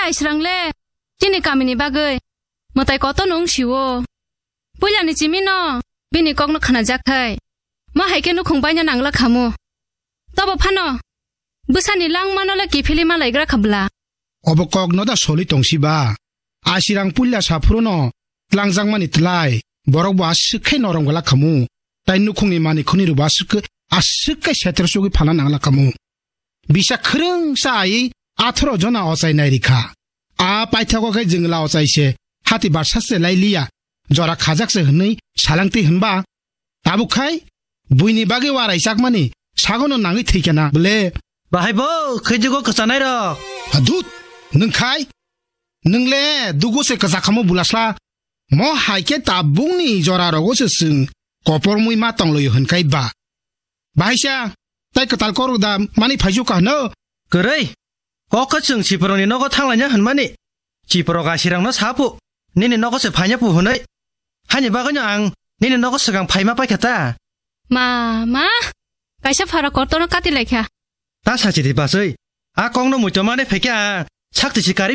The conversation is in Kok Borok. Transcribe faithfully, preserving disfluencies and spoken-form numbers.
Aisrang le chini kamini bagwi mwtai kotor no wng sio. Puilani chimi no bini kok no khna jak khai. Mo hai khe nukhung baina nangla khamu. Tobo phano bwsani langma no le kiphilwi ma laigra kha bwla. Obo kok no da soli tong si ba? Aisrang puila saphuru no tlangjakmani tlai borok bo aswk khe norom gala khamu. Tai nukhungni mani khuni rok bo aswk, aswk khe setra sugwi phalna nangla khamu. Bisa khwrwngsa ai atharo jona ochai nai rikha. A paithago khe jwngla ochai se hati barsa se lai liya, jora khajak se hwnwi salangti hwnba. Tabuk khai buini bagwi warai chakmani sagono nangwi thwikha na bwle. Bahai bo khaijugo kwchanai rok. Adut, nwng khai? Nwng le dugo se kwchakhamo bulasla. Mo hai khe tabukni jora rogo se chwng kopormui ma tonglaio hwnkhai ba. Bahaisa, tai kwtal korok da mani phaisu ka hwno? Kwrwi, kok khe chwng Siporokni nogo thanglaina hwnmani. Siporok asirangno sa phu, nini nogo se phaina phu hwnwi. Hani bagwino ang nini nogo swkang phaima paikha ta. Ma, ma, kaisa phara kotorno kati laikha. Ta sachi di bachwi, a kokno muitomani phaikhe ang sakti si kari